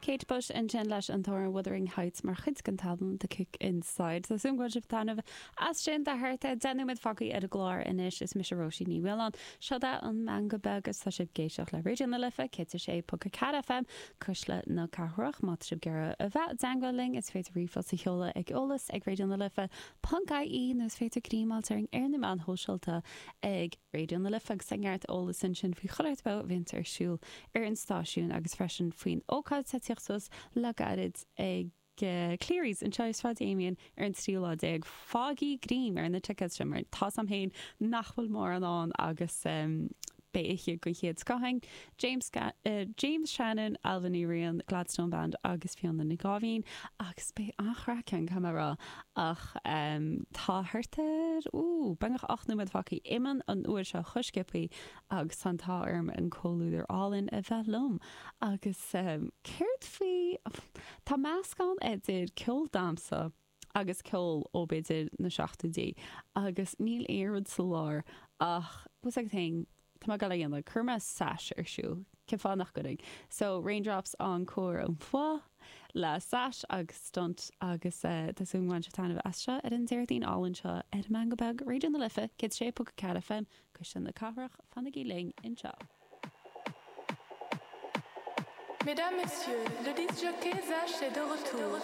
Kate Bush ansin leis an t-amhrán Wuthering Heights mar chuid den t-albam The Kick Inside. Tá súil agam go bhfuil sibh ag taitneamh as sin. Tá thart ar 10 nóiméad fágtha ar an gclár anois. Is mise Róisín Ní Mhaoláin. Seo é an Meangadh Beag agus tá sibh ag éisteacht le Raidió na Life 106.4 FM, Cuisle na Cathrach. Má tá sibh ag iarraidh a bheith i dteangmháil linn is féidir ríomhphost a sheoladh ag eolas ag Raidió na Life ponc ie nó is féidir greim a fháilt orainn ar na meáin shóisialta ag Raidió na Life agus tá neart eolas ansin faoi chuile shórt beo a bhíonns ar siúl ar an stáisiún agus freisin faoin ócáid atá ag tíocht suas le gairid ag Cleary's anseo i Sráid Amiens ar an tríú lá déag. Faighigí greim ar na tickets sin mar tá's a'm féin nach bhfuil mórán ann agus beidh oíche den chéad scoth ann. James James Shannon, Ailbhe Ní Riain, Gladstone Band agus Fiona Nic Gáibhín agus beidh an-chraic ann, caithfidh mé a rá. Ach tá thart ar, ooh, beagnach 8 nóiméad fágtha imíonn an uair seo chomh sciobthaí agus tá an t-ádh orm an comhluadar álainn a bheith liom. Agus céard faoi, tá meascán idir ceol damhsa agus ceol ó b'fhéidir na seachtóidí agus níl aon rud sa lár ach, bhfuil 's agat féin, tá mé ag dul a dhéanamh, cuirfidh mé Sash ar siúl, cén fáth nach gcuirfinn? So, Raindrops encore une fois le Sash agus Stunt agus tá súil agam go mbainfidh sibh taitneamh as seo ar an Déardaoin álainn seo ar an Meangadh Beag, Raidió na Life 106.4 FM, Cuisle na Cathrach, fanaigí linn anseo. Mesdames, Messieurs, le disc jockey Sash est de retour.